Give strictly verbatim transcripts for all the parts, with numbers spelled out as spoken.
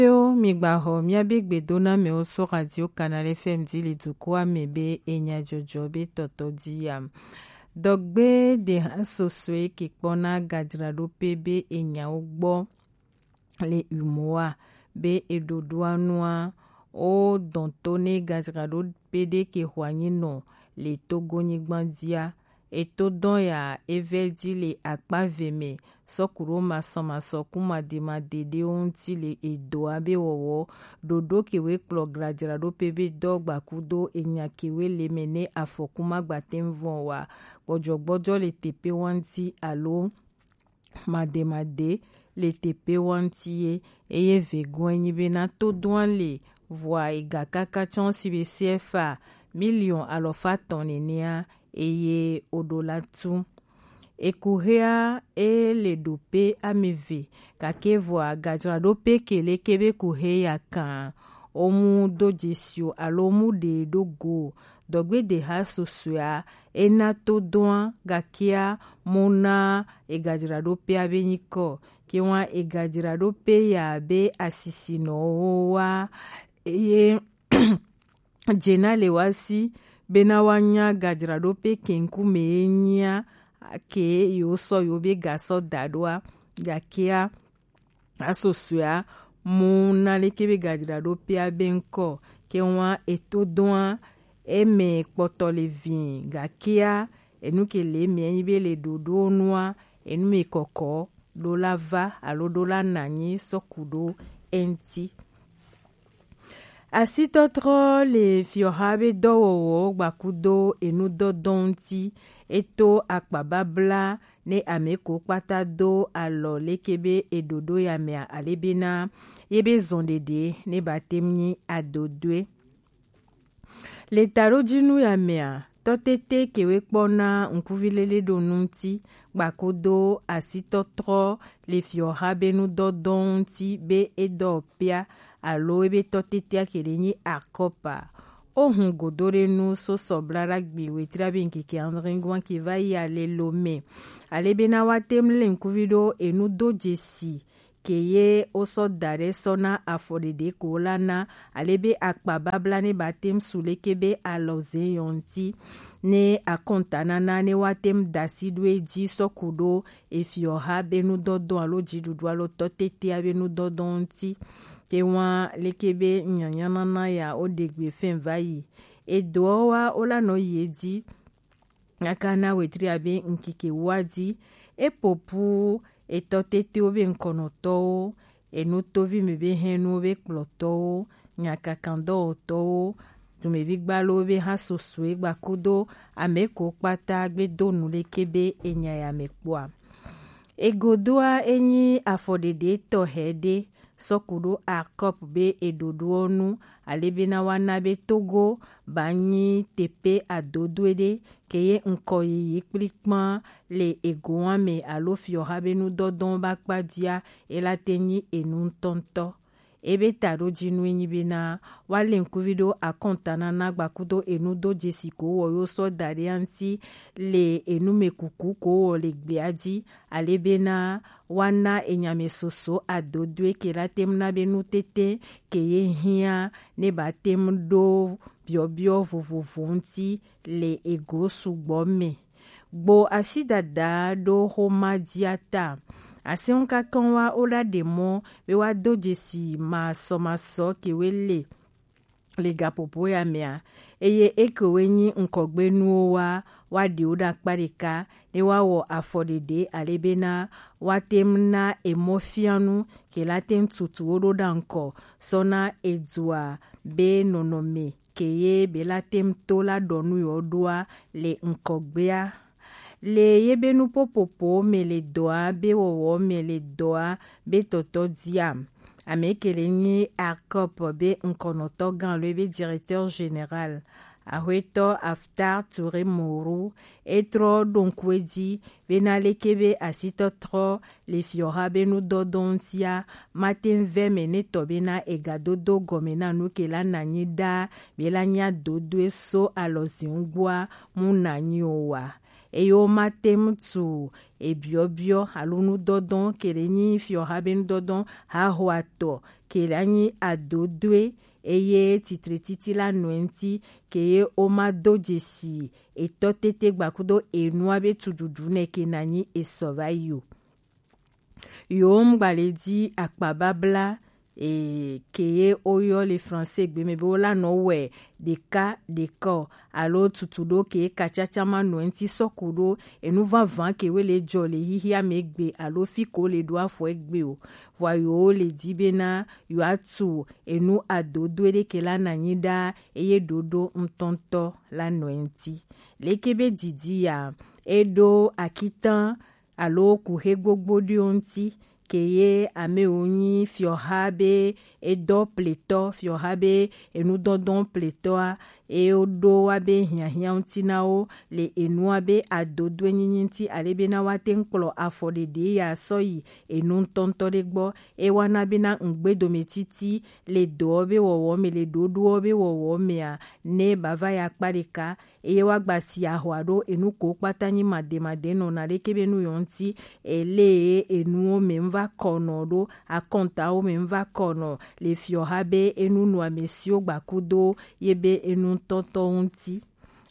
Yo, mi gba xɔ miabe gbedonamɛwo so Radio Canal F M ji le dukuamɛ be enya jɔjɔ be tɔtɔ ji yam. Dɔgbe de ha sosoe ke kpɔna gajraɖope be enyawo gbɔ le umoa be eɖoɖoa nua wo dɔn to ne gajraɖope ɖe ke xɔ anyi nɔ le Togo nyigba jia. Eto dɔn ya evɛ ji le akpa ve mɛ sɔku ɖo masɔmasɔ ku mademadede ɖewo ŋuti le edoa be wɔwɔ ɖoɖo kewe kplɔ glajraɖope be dɔ gbakudo enya kewe le mɛ ne afɔku magbatɛn vɔn wa gbɔjɔgbɔjɔ le tepe wanti alo mademade le tepe wanti ye. Eye vegoe nyi be na to doan le vɔa ega kaka tsɔn si be C F A miliɔn alɔfa tɔn nenea eye oɖo la tu. Ekuhea e le ɖo pe ameve, gake vɔa gajraɖope kele kebe kuhe ya kan omu do jesio alo mu ɖe ɖo go. Dɔgbedeha sosoea ena to doa gakea mu na egajraɖope abe nyikɔ. Ke wa egajraɖope ya be asisinɔwo wa eye jena le wa si bena wa nya gajraɖope kenku me ye nyia ke yewo sɔ yewo be gasɔ da ɖoa gakea asosoea mu na leke be gajraɖope abe ŋkɔ ke wa eto doa eme kpɔtɔ le vi gakea enu ke le eme enyi be le ɖoɖo nua enu me kɔkɔ ɖo la va alo ɖo la nanyi sɔku ɖo eŋti. Asitɔtrɔ le fiɔha be dɔwɔwɔ gbakudo enudɔdɔ ŋti. Eto akpababla ne ame ko kpata do alɔ leke be eɖoɖo ya mea alebena ye be zɔn ɖeɖe ne ba tem nyi adodoe. Le taɖojinu ya mea, tɔtete kewe kpɔ na ŋkuvi lele ɖo nu ŋti gbakudo asitɔtrɔ le fiɔha be nudɔdɔ ŋti be edɔ pia alo ebe tɔtetea ke ɖe nyi akɔpa. O hun godo ɖe nu so sɔbla ɖagbe wetri abe ŋkeke andringoan ke va yi ale lo mɛ. Ale bena wa tem le ŋkuvi ɖo enu do jesi ke ye wo sɔ da ɖe sɔ na afɔ ɖeɖe ko la na ale be akpa babla ne ba tem su leke be alɔ ze yɔ ŋti. Ne akɔntanana ne wa tem da si ɖo edzi sɔ ku ɖo efiɔha be nudɔdɔ alo dziɖuɖu alo tɔtetea be nudɔdɔ ŋti. Te wa leke be nyanyanana ya wo ɖe gbe fɛn va yi. Edoɔ wa wo la nɔ yi edzi. Nyaka na wetri abe ŋkeke wa di. Epopu etɔ tetewo be ŋkɔnɔtɔwo, enu tovi me be hɛnuwo be kplɔtɔwo, nyakakandɔwɔtɔwo, dumevi gbalowo be ha sosoe gbakudo ame ko kpata gbe do nu leke be enya ya me kpɔa. Egodoa enyi afɔɖeɖe tɔxɛ ɖe sɔku ɖo akɔp be eɖoɖoɔ nu ale bena wa na be Togo ba nyi tepe adodoe ɖe ke ye ŋkɔ yiyi kplikpan le egoa me alo fiɔha be nudɔdɔn ba kpa dia ela te nyi enu ŋtɔŋtɔ. Ebe taɖojinu enyi bena wa le ŋkuvi ɖo akɔntanana gbakudo enu do jesi ko wɔ yo sɔ da ɖe anti le enu me kuku ko wɔ le gbea di ale bena wa na enyame soso adodoe ke la tem na be nutete ke ye hia ne ba tem ɖo biɔbiɔ vovovo ŋti le ego sugbɔ me. Gbo asi dada ɖo xoma dia ta. Aseŋ kakan wa wo la ɖe mɔ be wa do jesi masɔmasɔ ke we le le gaƒoƒo ya mea, eye ekewoe nyi ŋkɔgbenuwo wa wa ɖewo ɖe akpa ɖeka ne wa wɔ afɔ ɖeɖe ale bena wa tem na emɔfianu ke la tem tutu wo ɖo ɖa ŋkɔ sɔ na edua be nɔnɔme ke ye be la tem to la ɖɔ nu yewo ɖoa le ŋkɔgbea. Le ye be nuƒoƒoƒo me le dɔa be wɔwɔ me le dɔa be tɔtɔ dia. Ame ke le nyi Arcop be ŋkɔnɔtɔ gã alo be directeur général. Axwetɔ Aftar Touré Mourou etrɔ ɖo ŋku edzi bena leke be asitɔtrɔ le fiɔha be nudɔdɔ ŋutia mate ŋu vɛ me ne tɔ bena egadodo gɔme na nu ke la nanyi ɖa be la nya dodoe so alɔzi ŋgbɔa mu nanyi o wa. Eye womate ŋu tu ebiɔbiɔ alo nudɔdɔ ke le nyi fiɔha be nudɔdɔ hahoatɔ ke la nyi adodoe, eye titre titi la nɔ eŋti, ke ye wo ma do jesi etɔ tete gbakudo enua be tududu nɛ ke na nyi esɔ va yi o. Yo ŋgba le di akpa babla, e, ke ye wo yɔ le français gbe mɛ be wo la nɔ wɛ ɖeka ɖeka o, alo tutu ɖo ke kacaca ma nɔ eŋti sɔku ɖo enu vava ke we le jɔ le xixia mɛ gbe alo fi ko le ɖo afɔ egbe o. Vɔa yo le di be na yo atu enu adodoe ɖe ke la na nyi ɖa eye ɖoɖo ŋutɔŋutɔ la nɔ eŋti. Leke be didi ya, e ɖo akitan alo kuxe gbogbo ɖewo ŋti, ke ye amewo nyi fiɔha be edɔ pletɔ, fiɔha be enudɔdɔn pletɔa, e ɖo wa be hiahiã ŋti na wo le enua be adodoe nyinyi ŋti, ale be na wa te ŋu kplɔ afɔ ɖeɖe ya sɔ yi enu ŋutɔŋutɔ ɖe gbɔ. E wa na be na ŋugbedometiti le dɔwo be wɔwɔ me, le ɖoɖowo be wɔwɔ mea, ne ba va ya kpa ɖeka, eye wa gba si ahwa ɖo enu ko kpata nyi mademade nɔ na ɖeke be nu yɔ ŋti, ele enuwo me ŋu va kɔ nɔ ɖo, akɔntawo me ŋu va kɔ nɔ le fiɔha be enu nu amesiwo gbakudo ye be enu tɔtɔ ŋti.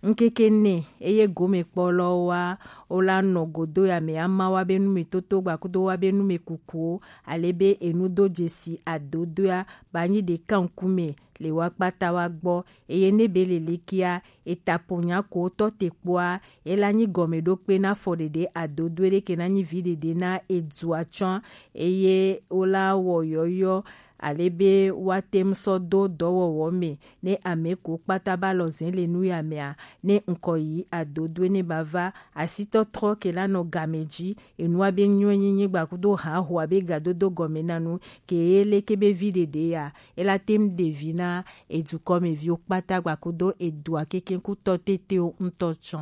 Ŋkeke nɛ eye gomekpɔlɔwo wa wo la nɔ godo ya me ama wa be nu me toto gbakudo wa be nu me kukuwo, ale be enu do jesi adodoea ba nyi ɖeka ŋkume le wa kpata wa gbɔ, eye ne be lelekia eta po nya ko tɔ te kpoa, e la nyi gɔmeɖokpe na afɔ ɖeɖe adodoe ɖe ke na nyi vi ɖeɖe na edua tsɔ, eye wo la wɔ yɔyɔ ale be wa te ŋu sɔ do dɔwɔwɔ me ne ame ko kpata ba lɔ zɛn le nu ya mea, ne ŋkɔ yi adodoe ne ba va asitɔtrɔ ke la nɔ game ji, enua be nyɔe nyinyi gbakudo ha ho abe gadodo gɔme na nu ke ye leke be vi ɖeɖe ya, e la te ŋu ɖe vi na edukɔmeviwo kpata gbakudo edua kekeŋkutɔ tetewo ŋutɔ tsɔ.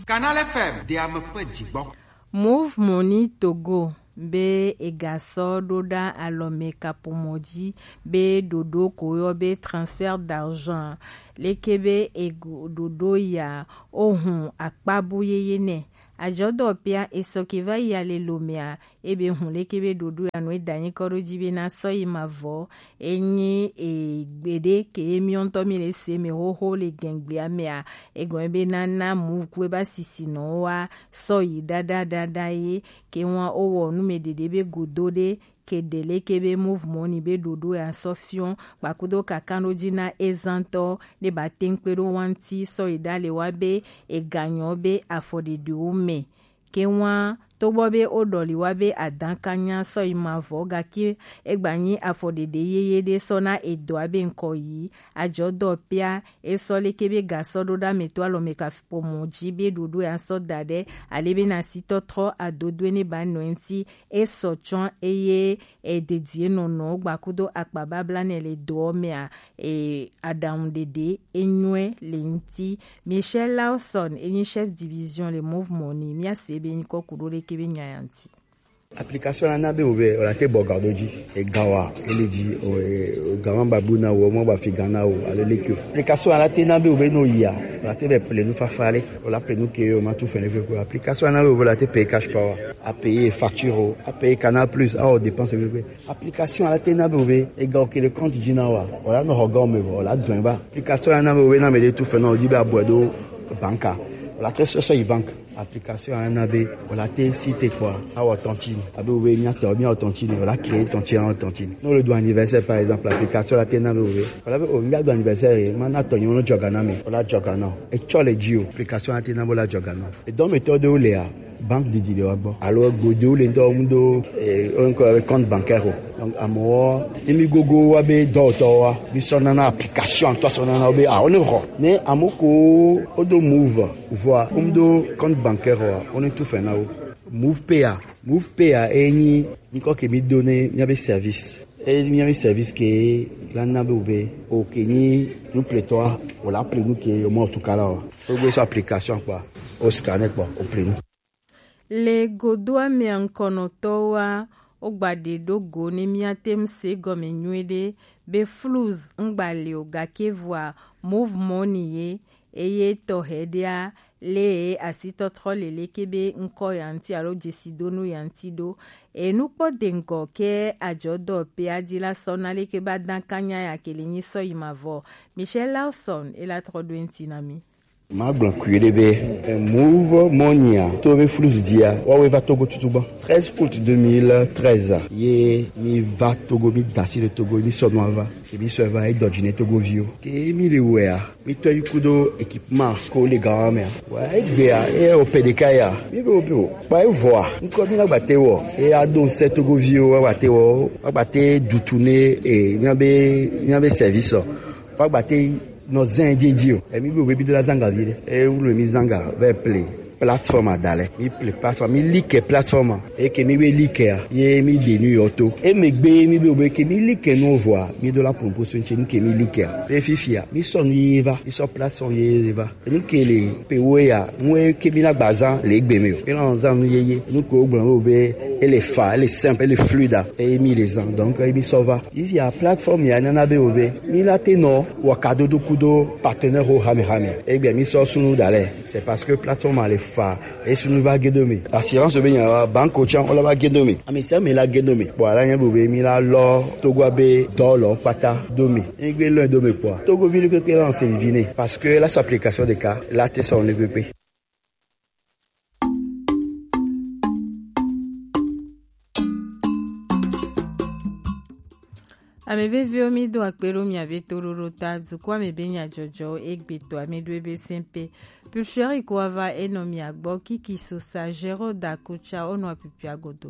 Canal F M, de ame ƒe dzigbɔ. Move Money Togo be egasɔ ɖo ɖa alɔme kaƒomɔ dzi be ɖoɖo ko yɔ be transfert d'argent, leke be ego ɖoɖo ya, ohun akpabu yeye nɛ. Ajɔdɔpea esɔ ke va yi ale lomea, ebe hun leke be ɖoɖo ya nɔ eda nyi kɔ ɖo dzi be na sɔ yi mavɔ. Enyi e gbeɖe ke emiɔ ŋutɔ mi le se me xoxo le gɛngbea mea, egɔme be na na Move ku eba sisi nɔ wa sɔ yi ɖaɖa ɖaɖa ye ke wa o wɔ nu me ɖeɖe be godo ɖe ke ɖe leke be Move Money be ɖoɖo ya sɔ fiɔ gbakudo kakan ɖo dzi na ezantɔ ne ba te ŋu kpe ɖo wa ŋti sɔ yi ɖa le wa be eganyɔ be afɔ ɖeɖewo me. Ke wa togbɔ be wo ɖɔli wa be adan ka nya sɔ yi mavɔ, gake egba nyi afɔ ɖeɖe yeye ɖe sɔ na edɔa be ŋkɔ yi. Ajɔdɔpea esɔ leke be gasɔ ɖo ɖa me to alɔme kaƒomɔ dzi be ɖoɖo ya sɔ da ɖe ale be na sitɔtrɔ adodoe ne ba nɔ eŋti esɔ tsɔ eye ededie nɔnɔ gbakudo akpa babla ne le dɔ mea, e, aɖaŋu ɖeɖe enyɔe le ŋti. Michel Lawson enyi chef division le Move Money, mia se be nyikɔ kuɖo leke be nya ya ŋti. Application la na be wo be, o la te bɔ ga ɖo dzi. E ga wa, e le dzi, o, e, o ga ma ba bu na wo, ma ba fi ga na wo, ale leke o. Application la te na be wo be no ya, o la te be ple nu fafa le, o la ple nu ke o ma tu fɛnɛ fɛ ko. Application la na be wo be la te paye cash power, a paye facture o, a paye Canal Plus, a o dépense fɛ ko. Application la te na be wo be, e ga o ke le compte dzi na wa, o la no ho ga o me vo, o la dɔn ba. Application la na be wo be na me de tu fɛ na o dzi be a bɔ do banka, o la te sɔ sɔ yi bank. Application ya na be o la te si te kpɔa, a wɔ tɔntine. A be o be mia tɔ, mia wɔ tɔntine, o la créer tɔntine, a wɔ tɔntine. Ne o le do anniversaire par exemple, application la te na be o be, o la be o mia do anniversaire, ma na tɔ nyo no jɔga na me, o la jɔga na o. E tsɔ le dzi o, application la te na be o la jɔga na o. E dɔ me tɔ de o le a, banque didi le wa gbɔ. Alo gbo de o le ŋutɔ mu do, e, o ŋkɔ be compte bancaire o. Donc amewo, ne mi gogo wa be dɔwɔtɔ wa, mi sɔ nana application tɔ sɔ nana wo be a, o ne xɔ. Ne amo ko o do Move. Vɔa, wo mu do compte bancaire wa, wo ne tu fɛ na wo. Move Pay a, Move Pay a, e nyi nyikɔ ke mi do ne mia be service. E nyi mia be service ke la na be wo be, o ke nyi nu pletɔa, o la ple nu ke o ma o tu kala wa. O gbe sɔ application kpɔa, o scanner kpɔ, o ple nu. Le godoa mea ŋkɔnɔtɔwoa, wo gba ɖe ɖo go ne mia te ŋu se gɔme nyuie ɖe be Fluz ŋgba le o, gake vɔa Move Money ye, eye tɔxɛ ɖea le asitɔtrɔ lele ke be ŋkɔ ya ŋuti alo jesidonu ya ŋuti ɖo. Enu kpɔ de ŋgɔ ke ajɔdɔ pe aji la sɔ na le ke ba dan kanya ya ke le nyi sɔ yi ma vɔ. Michel Lawson e la trɔ ɖo ŋuti na mi. Ma gblɔ kui ɖe be, eh, Move Money a, to be flus dia, wa we va Togo tutu gbɔ. Treize août deux mille treize a, ye mi va Togo, mi dasi le Togo, mi sɔ nua va. Ke mi sɔ va, e dɔ dzi ne Togo viwo. Ke mi le wea, mi tɔ yi kudo équipement ko le gawa mea. Wa egbea, e o pe ɖeka ya. Mi be o be o. Kpa e vɔa, ŋkɔ mi na gbate wɔ. E a do se Togo viwo, wa gbate wɔ, wa gbate dutu ne, e, mi be, mi be service o. Wa gbate nɔ zɛn jeje o. Emi be obe bi do la zanga vi ɖe. E wulu mi zanga ve ple plateforme adalɛ. Mi ple plateforme, mi like plateforme. E ke mi be like a. Ye mi de nu yɔ to. E me gbe mi be obe ke mi like nu vɔa. Mi do la proposition tse nu ke mi like a. Pe fifia. Mi sɔ nu ye va. Mi sɔ plateforme ye va. Enu ke le pe wo ya. Mu e ke mi na gba zan le gbe mi o. Mi na zan nu ye ye. Nu ke o gblɔ be e le fa, e le simple, e le fluide. E mi le zan. Donc e mi sɔ va. Fifia plateforme ya nana be obe. Mi la te nɔ wɔ kadodo kudo partenaire wo hame hame. Egbe mi sɔ sunu dalɛ. C'est parce que plateforme a le fa. E sunu va gedo mi. Assurance be nya wa banque o tsan o la va gedo mi. Ami se mi la gedo mi. Bon, ala nya be obe mi la lɔ Togo be dɔ lɔ kpata do mi. Egbe lɔ do mi kpɔ. Togo vi le kpekpe la on se vivine. Parce que la sɔ application de cas la te sɔ ne kpekpe. Ame veviwo, mi do akpe ɖo mia be toɖoɖo ta, dukɔ ame be nyadzɔdzɔwo egbe to ame ɖo ebe sɛnpe. Pulfiori ko ava enɔ mia gbɔ, Kiki Sosa, Géraud Dakucha, onɔ apipia godo.